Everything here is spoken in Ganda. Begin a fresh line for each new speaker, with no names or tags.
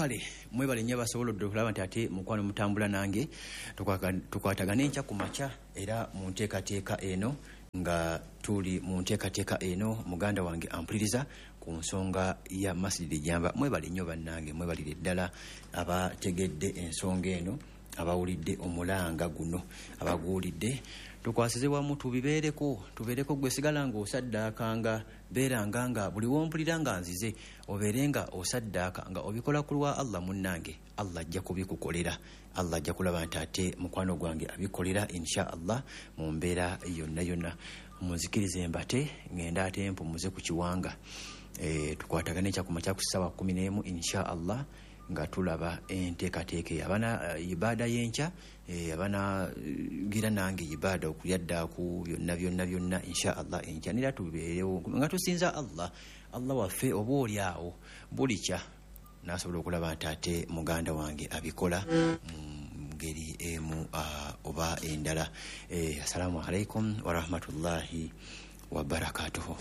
Kale mwebale nnyo abasobola okulaba nti ate mukwano mutambula nange, tukwatagane enkya ku makya era mu nteekateeka eno, nga tuli mu nteekateeka eno muganda wange ampuliriza ku nsonga ya Masjid Jamba. Mwebale nnyo bannange, mwebalire ddala abategedde ensonga eno, abawulidde omulanga guno, abaguwulidde. Tukwasize wamu, tubibeereko, tubeereko. Gwe sigala ng'osaddaakanga, beeranga nga buli wompulira nga nzize obeere nga osaddaaka, nga obikola ku lwa Allah. Munnange, Allah ajja kubikukolera, Allah ajja kulaba nti ate mukwano gwange abikolera, insha Allah, mu mbeera yonna yonna. Munzikirize mbate, ngenda ate mpumuze ku kiwanga. Tukwatagane ekyakumakya ku ssaawa 11, insha Allah, nga tulaba enteekateeka eyo. Abana ibaada y'enkya, abana gira nange ibaada okulyaddaku byonna byonna byonna, insha Allah, enkya nera tubeerewo nga tusinza Allah, Allah waffe. Oba oli awo bulikya nasobola okulaba nti ate muganda wange abikola mu ngeri emu oba endala. Assalamu alaikum warahmatullahi wabarakatuhu.